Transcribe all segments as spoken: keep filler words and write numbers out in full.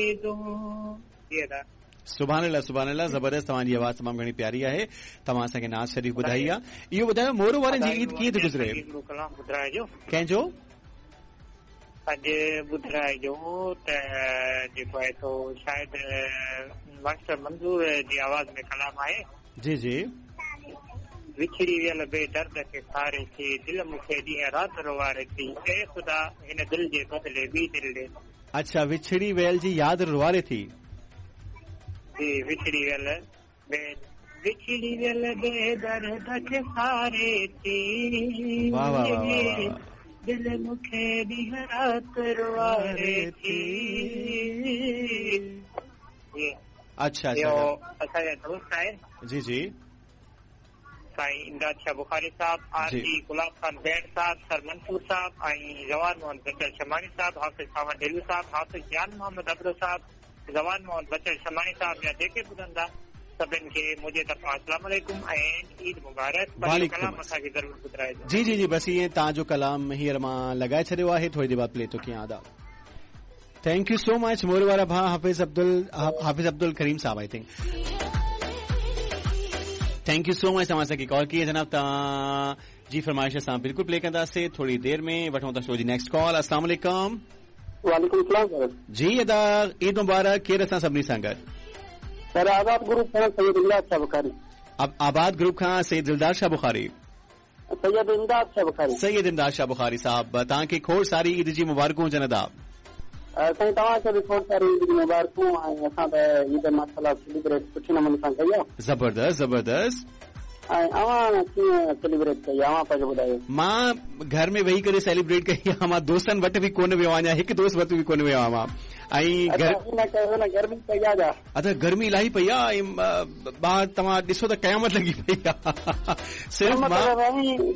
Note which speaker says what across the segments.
Speaker 1: ईदूं। जी अदा।
Speaker 2: सुभान अल्लाह, सुभान अल्लाह, ज़बरदस्त। तव्हांजी आवाज़ तमामु घणी प्यारी आहे। तव्हां असांखे नाज़ शरीफ़ ॿुधाई आहे। इहो ॿुधायो मोरो वारनि जी ईद कीअं थी गुज़रे?
Speaker 1: कलाम ॿुधाइजो।
Speaker 2: कंहिंजो?
Speaker 1: अॼु ॿुधाइजो त जेको आहे सो शायदि मास्टर मंज़ूर जी आवाज़ में कलाम आहे।
Speaker 2: जी जी।
Speaker 1: विछड़ी वियल बेदर्द खे सारे थी, दिलि मूंखे ॾींहुं राति रोवारे थी, ऐ ख़ुदा हिन दिलि जे बदिले ॿी दिलि ॾे।
Speaker 2: अच्छा, विछड़ी वियल जी यादि रोवारे थी।
Speaker 1: जी, विछड़ी वियल बे विछड़ी वियल बेदर्द खे सारे थी,
Speaker 2: वाह वाह वाह वाह,
Speaker 1: दिलि मूंखे ॾींहुं राति रोवारे थी।
Speaker 2: अच्छा अच्छा,
Speaker 1: असांजा दोस्त आहिनि।
Speaker 2: जी जी।
Speaker 1: साईं इमदाद शाह बुखारी साहब, आर जी गुलाब खान बैंड साहब, सर मंसूर साहब ऐं जवान मोहम्मद बचल शमानी साहब, हाफ़िज़ सावन ढेलू साहब, हाफ़िज़ जान मोहम्मद अबरो साहब, जवान मोहम्मद बचल शमानी साहब या जेके ॿुधंदा सभिनि खे मुंहिंजे तरफ़ां अस्सलाम वालेकुम ऐं ईद मुबारक। कलाम असांखे ज़रूरु ॿुधाइजो।
Speaker 2: जी जी जी, बसि ईअं तव्हांजो कलाम हींअर मां लॻाए छॾियो आहे, थोरी देरि बाद प्ले थो कयां। अदा thank you so much मोर वारा भाउ हाफ़िज़ अब्दुल हाफ़िज़ अब्दुल करीम साहब, I think. Thank you so much तव्हां असांखे कॉल कई जनाब। तव्हां जी फरमाइश असां बिल्कुलु प्ले कंदासीं थोरी देरि में। वठूं था शो जी नेक्स्ट कॉल। अस्सलाम वालेकुम।
Speaker 3: वालेकुम सलाम
Speaker 2: जी अदा, ईद मुबारक। केरु असां सभिनी सां गॾु?
Speaker 3: सर आबाद ग्रुप खां सैयद इमदाद शाह बुखारी।
Speaker 2: अब आबाद ग्रुप खां सैयद दिलदार शाह बुखारी।
Speaker 3: सैयद इमदाद शाह बुखारी।
Speaker 2: सैयद इमदाद शाह बुखारी साहब, तव्हांखे खोड़ सारी ईद जी मुबारकूं हुजनि अदा।
Speaker 3: साईं तव्हांखे बि खोड़ सारी ईद जी मुबारकूं। ऐं असां त ईद माशाअल्लाह सेलिब्रेट सुठे नमूने सां कई आहे।
Speaker 2: ज़बरदस्त ज़बरदस्त।
Speaker 3: ऐं अवां कीअं सेलिब्रेट कई आहे, अवां पंहिंजो ॿुधायो?
Speaker 2: मां घर में वेही करे सेलिब्रेट कई आहे। मां दोस्तनि वटि बि कोन वियो आहियां, हिकु दोस्त वटि बि कोन वियो आहियां मां। ऐं
Speaker 3: गर्मी पई आहे।
Speaker 2: अच्छा, गर्मी इलाही पई आहे ऐं ॿाहिरि तव्हां ॾिसो त क़यामत लॻी पई आहे। सिर्फ़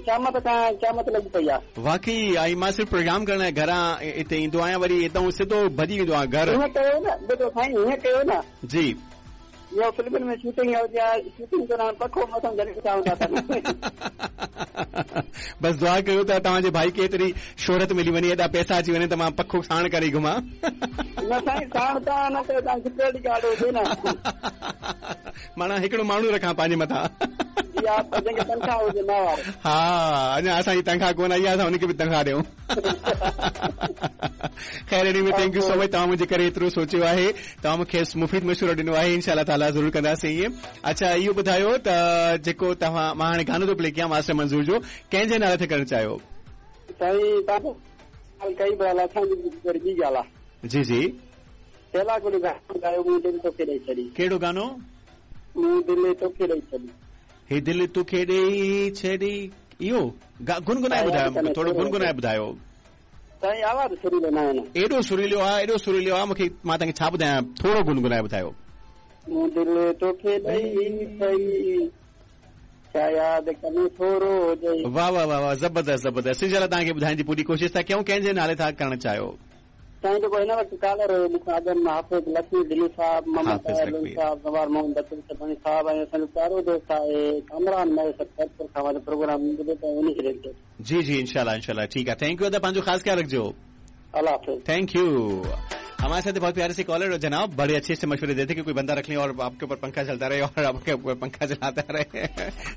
Speaker 3: क़यामत खां क़यामत लॻी पई आहे
Speaker 2: वाकई। ऐं मां सिर्फ़ प्रोग्राम करण लाइ घरां हिते ईंदो आहियां, वरी हितां सिधो भॼी वेंदो आहियां घर।
Speaker 3: ईअं कयो न, ॿुधो साईं, ईअं कयो न।
Speaker 2: जी,
Speaker 3: इहो फिल्मनि में शूटिंग हूंदी आहे, शूटिंग दौरान पखो मथां जॾहिं हूंदा अथनि।
Speaker 2: बसि दुआ कयो त तव्हांजे भाई खे एतिरी शोहरत मिली वञे, एॾा पैसा अची वञे त मां पखो साण करे घुमां।
Speaker 3: न साईं, साण तव्हां न कयो, तव्हां सिक्योरिटी गार्ड हुजे न,
Speaker 2: माना हिकिड़ो माण्हू रखां पंहिंजे मथां।
Speaker 3: तनख़्वाह हुजे न।
Speaker 2: हा, अञा असांजी तनख़्वाह कोन आई आहे, असां हुनखे बि तनख़्वाह ॾियूं। ख़ैर anyway thank you so much, तव्हां मुंहिंजे करे एतिरो सोचियो आहे, तव्हां मूंखे मुफ़ीद मशवरो ॾिनो आहे। इंशाअल्लाह ताला ज़रूरु कंदासीं ईअं। अच्छा, इहो ॿुधायो त जेको तव्हां, मां हाणे गानो थो प्ले कयां मास्टर मंज़ूर जो, कंहिंजे नाले ते करणु चाहियो?
Speaker 3: साईं तव्हां कई ॻाल्हि असांजी ॿी ॻाल्हि आहे।
Speaker 2: जी जी।
Speaker 3: पहला गुल गानो ॻायो, मूं दिलि तोखे ॾेई छॾी।
Speaker 2: कहिड़ो गानो?
Speaker 3: मूं दिलि तोखे ॾेई छॾी।
Speaker 2: हे दिलि तोखे ॾेई छॾी, इहो गुनगुनाए ॿुधायो, थोरो गुनगुनाए ॿुधायो।
Speaker 3: साईं आवाज़ सुरीलो न आहे न,
Speaker 2: एॾो सुरीलो आहे, एॾो सुरीलो आहे, मूंखे मां तव्हांखे छा ॿुधायां, थोरो गुनगुनाए ॿुधायो।
Speaker 3: मूं दिलि तोखे ॾेई छॾी, यादि कनि थोरो।
Speaker 2: वाह वाह वाह वाह, ज़बरदस्त ज़बरदस्त। इंशाअल्लाह तव्हांखे ॿुधाइण जी पूरी कोशिश था कयूं। कंहिंजे नाले था करणु चाहियो?
Speaker 3: साईं जेको हिन वक़्तु कॉलर हुयो मूंखां अॻु में हाफ़िज़ लक्ष्मी दिली साहब, मोहम्मद साहब, गवार मोहम्मद बचल शबानी साहब ऐं असांजो प्यारो दोस्त आहे कामरान महेसर खैरपुर खां वारो प्रोग्राम ॿुधो त उन खे डेडिकेट।
Speaker 2: जी जी, इंशाअल्लाह इंशाअल्लाह। ठीक आहे, thank you अदा, पंहिंजो ख़ासि ख़्यालु रखिजो।
Speaker 3: अल्लाह हाफ़िज़।
Speaker 2: Thank you. हमारे साथ बहुत प्यारे से कॉलर और जनाब बड़े अच्छे से मशवरे देते कि कोई बंदा रख लें और आपके ऊपर पंखा चलता रहे और आपके ऊपर पंखा चलाता रहे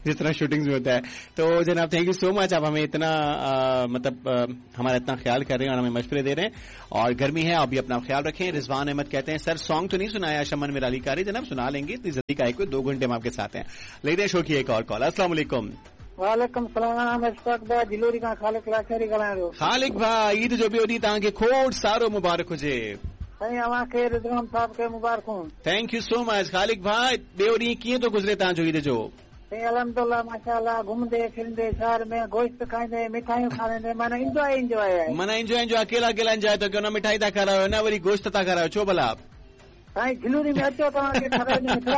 Speaker 2: जिस तरह शूटिंग में होता है। तो जनाब thank you so much, आप हमें इतना आ, मतलब आ, हमारा इतना ख्याल कर रहे हैं और हमें मशवरे दे रहे हैं। और गर्मी है, आप भी अपना ख्याल रखें। रिजवान अहमद कहते हैं सर सॉन्ग तो नहीं सुनाया शमन मिराली कारी। जनाब सुना लेंगे, इतनी जल्दी का कोई दो घंटे हम आपके साथ हैं। लेते हैं शो की एक और कॉल। अस्सलाम वालेकुम।
Speaker 4: वालेकुम सलाम। अशफाक भाई जिलोरी खां खालिक लाचारी ॻाल्हायां थो।
Speaker 2: खालिक भाई, ईद जो ॿियो ॾींहुं तव्हांखे खोड़ सारो मुबारक हुजे।
Speaker 4: साईं अव्हांखे रिज़वान साहब खे मुबारकूं।
Speaker 2: Thank you so much Khaliq भाई। ॿियो ॾींहुं कीअं थो गुज़रे तव्हांजो ईद जो?
Speaker 4: साईं अल्हम्दुलिल्लाह माशाअल्लाह, घुमंदे फिरंदे शहर में गोश्त खाईंदे मिठाइयूं खाईंदे, माना एंजॉय एंजॉय आहे।
Speaker 2: माना एंजॉय एंजॉय, अकेला अकेला एंजॉय था कयो, न मिठाई था खारायो न वरी गोश्त था खारायो, छो भला?
Speaker 4: साईं जिलोरी में अचो तव्हांखे खाराईंदो।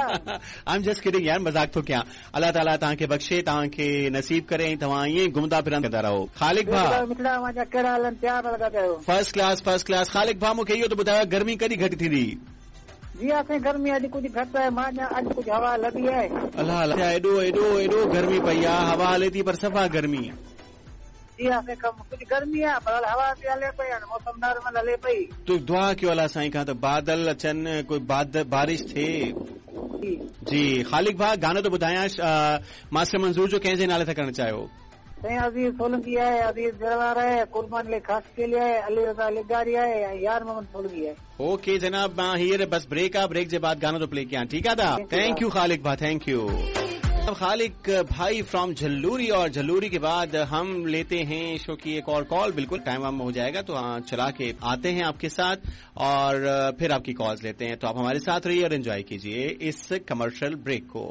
Speaker 2: I am just kidding यार, मज़ाक थो कयां। अल्लाह ताला तव्हांखे बख़्शे, तव्हांखे नसीब करे ऐं तव्हां ईअं ई घुमंदा फिरंदा रहो। खालिक भाउ
Speaker 4: मिठड़ा अव्हांजा कहिड़ा हलनि, प्यार लॻा पिया आहियो।
Speaker 2: First class first class. Khaliq भाउ मूंखे इहो त ॿुधायो गर्मी कॾहिं घटि थींदी?
Speaker 4: जी हा साईं गर्मी अॼु कुझु घटि आहे, मां अञा अॼु कुझु हवा लॻी आहे।
Speaker 2: अल्लाह अल्लाह, एॾो एॾो एॾो गर्मी पई आहे, हवा हले थी पर सफ़ा गर्मी।
Speaker 4: थी वियासीं कम। कुझु गर्मी आहे पर हवा बि हले पई, हाणे मौसम नॉर्मल हले पई।
Speaker 2: तो दुआ कयो अलाह साईं खां त बादल अचनि, कोई बाद बारिश थिए। जी ख़ालिक भाउ, गानो तो ॿुधायां, मास्टर मंज़ूर जो कंहिंजे नाले था करणु चाहियो?
Speaker 4: साईं अज़ीज़ सोलंकी आहे, अज़ीज़ जरवार आहे, कुर्बान अली ख़ास केली आहे, अली रज़ा लिगारी आहे ऐं यार मोहम्मद सोलंकी आहे।
Speaker 2: ओके जनाब, मां हींअर बसि ब्रेक आहे, ब्रेक जे बाद गानो थो प्ले कयां, ठीकु आहे दा? Thank you ख़ालिक भाउ, thank you. Khaliq भाई फ्रॉम झल्लूरी, और झल्लूरी के बाद हम लेते हैं शो की एक और कॉल। बिल्कुल टाइम वाम हो जाएगा तो हाँ चला के आते हैं आपके साथ और फिर आपकी कॉल्स लेते हैं। तो आप हमारे साथ रहिए और एंजॉय कीजिए इस कमर्शियल ब्रेक को।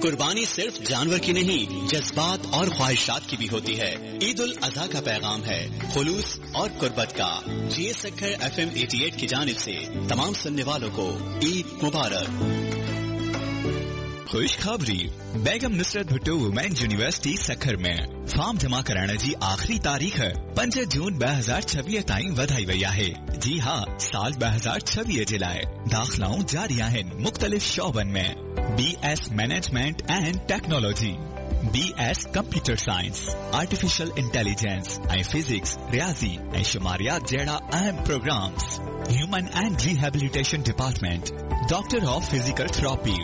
Speaker 5: कुर्बानी सिर्फ जानवर की नहीं, जज्बात और ख्वाहिशात की भी होती है। ईद उल अजहा का पैगाम है खुलूस और कुर्बत का। G S Sukkur F M अठासी की जानिब से तमाम सुनने वालों को ईद मुबारक।
Speaker 6: खुशखबरी, बेगम नुसरत भुट्टो वुमेन यूनिवर्सिटी सखर में फॉर्म जमा कराइण जी आख़िरी तारीख़ पंज जून ॿ हज़ार छवीह ताईं वधाई वई आहे। जी हा, साल ॿ हज़ार छवीह जे लाइ दाख़िलाऊं जारी आहिनि मुख़्तलिफ़ शोबनि में B S management and technology, B S computer science, artificial intelligence ऐं फिजिक्स, रियाज़ी ऐं शुमारियात जहिड़ा अहम programmes. Human and rehabilitation department, doctor of physical therapy,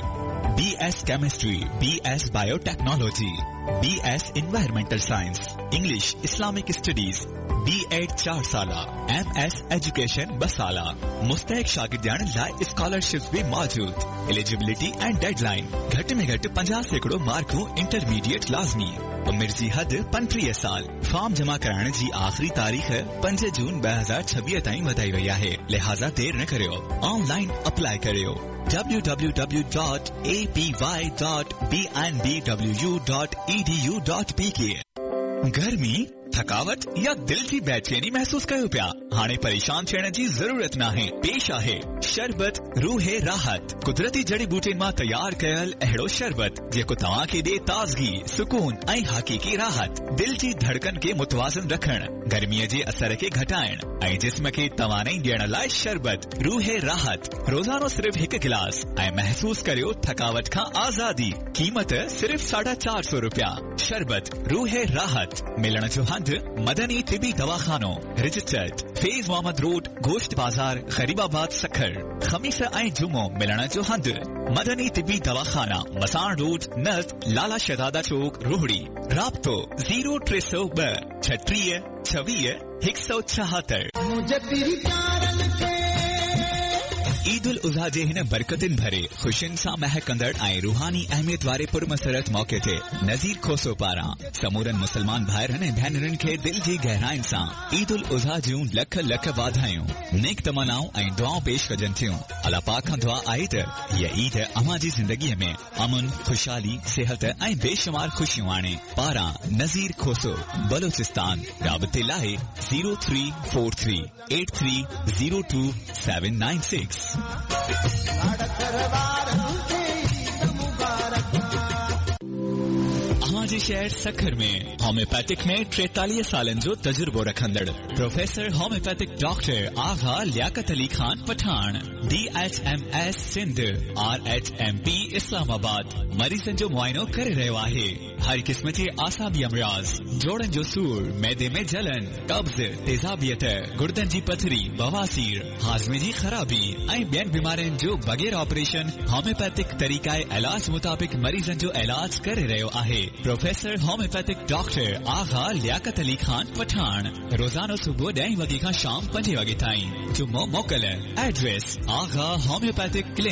Speaker 6: B S chemistry, B S biotechnology, B S environmental science, English, Islamic studies, B Ed चार साला, M S education ॿ साला। मुस्तहिक शागिर्दियाणनि लाइ scholarships बि मौजूद। एलिजिबिलिटी ऐं डेडलाइन घटि में घटि पंजाह सैकड़ो मार्कूं इंटरमीडिएट लाज़मी। उमिरि जी हद पंटीह साल। फॉर्म जमा कराइण जी आख़िरी तारीख़ पंज जून ॿ हज़ार छवीह ताईं वधाई वई आहे, लिहाज़ा देरि न करियो, ऑनलाइन अप्लाई करियो। W W W dot A P Y dot B N B W U dot E D U dot P K. गर्मी, थकावट या दिल जी बेचैनी महसूस कयो पिया? हाणे परेशान थियण जी ज़रूरत नाहे। पेश आहे शरबत रूहे राहत, कुदरती जड़ी बूटियुनि मां तयार कयल अहिड़ो शरबत जेको तव्हां खे ॾिए ताज़गी, सुकून ऐं हक़ीक़ी राहत। दिल जी धड़कन खे मुतवाज़न रखण, गर्मीअ जे असर खे घटाइण ऐं जिस्म खे तवानाई ॾियण लाइ शरबत रूहे राहत। रोज़ानो सिर्फ़ हिकु गिलास ऐं महसूस करियो थकावट खां आज़ादी। क़ीमत सिर्फ़ साढा चार सौ रुपया। शरबत रूहे राहत मिलण जो हंधु मदनी तिबी दवाखानो, रजिस्टर्ड, फैज़ मोहम्मद रोड, गोश्त बाज़ार, गरीबाबाद, सखर। ख़मीस ऐं जुमो मिलण जो हंधु मदनी तिबी दवाखाना, मसाण रोड, नज़द लाला शहज़ादा चौक, रोहड़ी। राब्तो ज़ीरो टे सौ ॿ छटीह छवीह हिकु सौ छाहतरि। ईद उल अज़हा जे हिन बरकतिन भरे ख़ुशियुनि सां महकंदड़ ऐं रूहानी अहमियत वारे पुरमसरत मौक़े ते नज़ीर खोसो पारां समूरनि मुसलमान भाइरनि ऐं भेनरुनि खे दिलि जी गहराइनि सां ईद उल अज़हा जूं लख लख वाधायूं, नेक तमनाऊं ऐं दुआऊं पेश कजनि थियूं। अलाह पाक खां दुआ आहे त हीअ ईद अव्हां जी ज़िंदगीअ में अमन, ख़ुशहाली, सिहत ऐं बेशुमार ख़ुशियूं आणे। पारां नज़ीर खोसो, बलोचिस्तान। राबते लाइ zero three four three eight three zero two seven nine six. अव्हां जे शहर सखर में होम्योपैथिक में टेतालीह सालनि जो तजुर्बो रखंदड़ professor homeopathic doctor Agha Liaquat Ali Khan Pathan, D H M S Sindh, R H M P Islamabad, मरीज़नि जो मुआइनो करे रहियो आहे। हर क़िस्म जे आसाबी अमराज़, जोड़नि जो सूर, मैदे में जलन, कब्ज़, तेज़ाबियत, गुर्दनि जी पथरी, बवासीर, हाज़मे जी ख़राबी ऐं ॿियनि बीमारियुनि जो बग़ैर ऑपरेशन होम्योपैथिक तरीक़ाए इलाज मुताबिक़ मरीज़नि जो इलाज करे रहियो आहे। Professor homeopathic doctor Agha Liaquat Ali Khan Pathan, रोज़ानो सुबुह ॾहें वॻे खां शाम पंजे वॻे ताईं। जुम्मो मोकल। एड्रेस आगा होम्योपैथिक क्लिनिक।